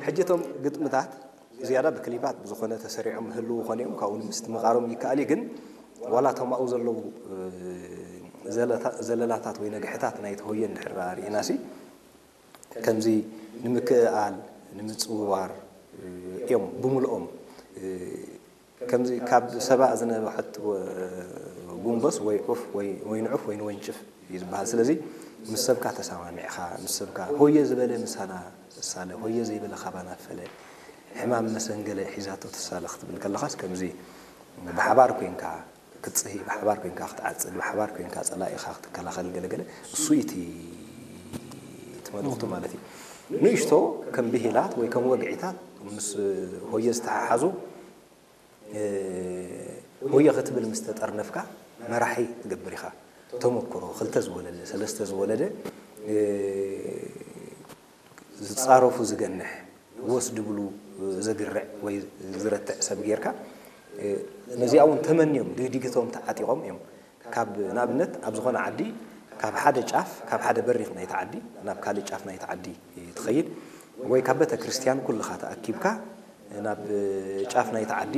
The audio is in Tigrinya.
ሕጂ እቶም ግጥምታት ዝያዳ ብክሊፓት ብዝኾነ ተሰሪዖም ህልው ኾነ እዮም፣ ካብኡ ንምስትምቓሮም ይከኣል እዩ። ግን ዋላ እቶም ኣብኡ ዘለዉ ዘለላታት ወይ ነግሕታት ናይቲ ሆየ እንድሕር ርኢናሲ ከምዚ ንምክእኣል ንምፅውዋር እዮም ብምልኦም። ከምዚ ካብ ሰባእ ዝነብሐት ጉንበስ ወይ ዑፍ ወይ ንዑፍ ወይ ንወንጭፍ እዩ ዝበሃል። ስለዚ ምስ ሰብካ ተሰማሚዕኻ ምስ ሰብካ ሆየ ዝበለ ምሳና እሳለ ሆየ ዘይበለ ካባና ፈለ ሕማም መሰንገለ ሒዛቶ ትሳለ ክትብል ከለኻስ ከምዚ ብሓባር ኮንካ ክትፅሂ ብሓባር ኮንካ ክትዓፅድ ብሓባር ኮንካ ፀላኢኻ ክትከላኸል ገለገለ እሱ እቲ እቲ መልእኽቱ ማለት እዩ። ንእሽቶ ከም ብሂላት ወይ ከም ወግዒታት ምስ ሆየ ዝተሓሓዙ ሆየ ክትብል ምስ ተጠርነፍካ መራሒ ትገብር ኢኻ። ተመክሮ ክልተ ዝወለደ ሰለስተ ዝወለደ ዝፃረፉ ዝገንሕ ወስ ድብሉ ዘግርዕ ወይ ዝረትዕ ሰብ ጌርካ ነዚኣ እውን ተመንዮም ድግዲግቶም ተዓጢቖም እዮም። ካብ ንኣብነት ኣብ ዝኾነ ዓዲ ካብ ሓደ ጫፍ ካብ ሓደ በሪኽ ናይቲ ዓዲ ናብ ካልእ ጫፍ ናይቲ ዓዲ ትኸይድ ወይ ካብ ቤተ ክርስቲያን ኩልኻ ተኣኪብካ ናብ ጫፍ ናይቲ ዓዲ